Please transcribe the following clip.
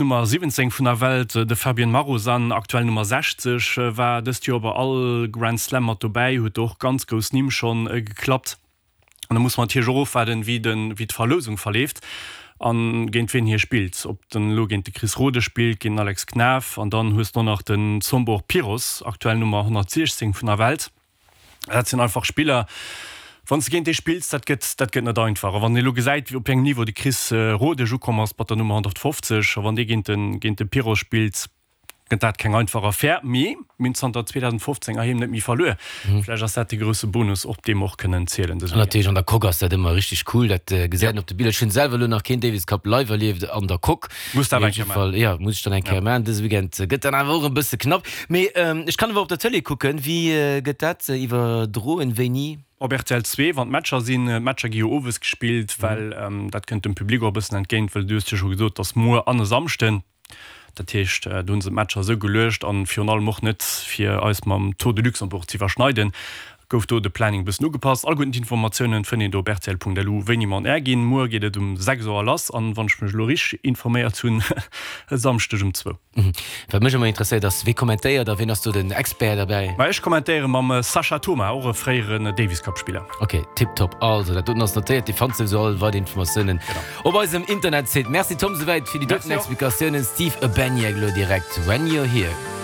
Nummer 17 vun der Welt, de Fabien Marozsan, aktuell Nummer 60, war dëst Joer bei all Grand Slam mat dobäi, huet do och ganz grouss Nimm schonn geklappt. An da muss mer natierlech och ofwaarden, wéi de wéi d'Verlousung verleeft a géint wien hie spillt. Ob den elo géint de Chris Rodesch spillt, géint den Alex Knaff an dann hues de och nach den Zsombor Piros, aktuell Nummer 116 vun der Welt. Dat sinn einfach Spiller, wann s de géint déi spills, dat gëtt, dat gëtt net einfach. A wann een elo gesäit, op wéi engem Niveau de Chris Rodesch ukomm ass mat der Nummer 150, a wann dee géint de, géint de Piros spillt, gëtt dat keng einfach Affär. Mee mir hunn zanter 2015 heiheem net méi verluer. Vläicht ass dat de grousse Bonus, op dee mer och kënnen zielen dëse Weekend. Natierlech an der Coque ass dat ëmmer richteg cool, dat gesäit een op de Biller. Ech hunn selwer elo nach keen Davis Cup live erlieft an der Coque. Muss dat awer eng Kéier maachen. Jo, muss ech dann eng Kéier maachen. Dëse Weekend gëtt dann awer och e bësse knapp. Mee ech kann awer op der Tëlee kucken. Wéi gëtt dat iwwerdroen? Wéini? Op rtl 2, wann d'Matcher sinn. D'Matcher gi jo owes gespillt, well dat kënnt dem Public och e bëssen entgéint, well du hues jo scho gesot, dass muer an e Samschden. Dat heescht, do hu se d'Matcher esou geluecht an virun allem och net fir eis mam Tour de Luxembourg z'iwwerschneiden, gouf do de Planning e bëssen ugepasst. Alleguerten d'Informatiounen fënnt een do op rtl.lu wéini mer on air ginn. Muer geet et um 6 Auer lass an, wann ech mech elo richteg informéiert hunn, e Samschdeg um zwou. Wat mech ëmmer interesséiert ass, wee kommentéiert a ween ass do den Expert derbäi? Ma ech kommentéiere mam Sascha Thoma, och e fréieren Davis Cup Spiller. Ok, tiptop. Also dat doten ass notéiert. Dir fannt souwisou all weider Informatiounen op eisem Internetsite. Merci Tom souwäit fir déi doten Explikatiounen. Steve Urbaniak elo direkt When You're Here.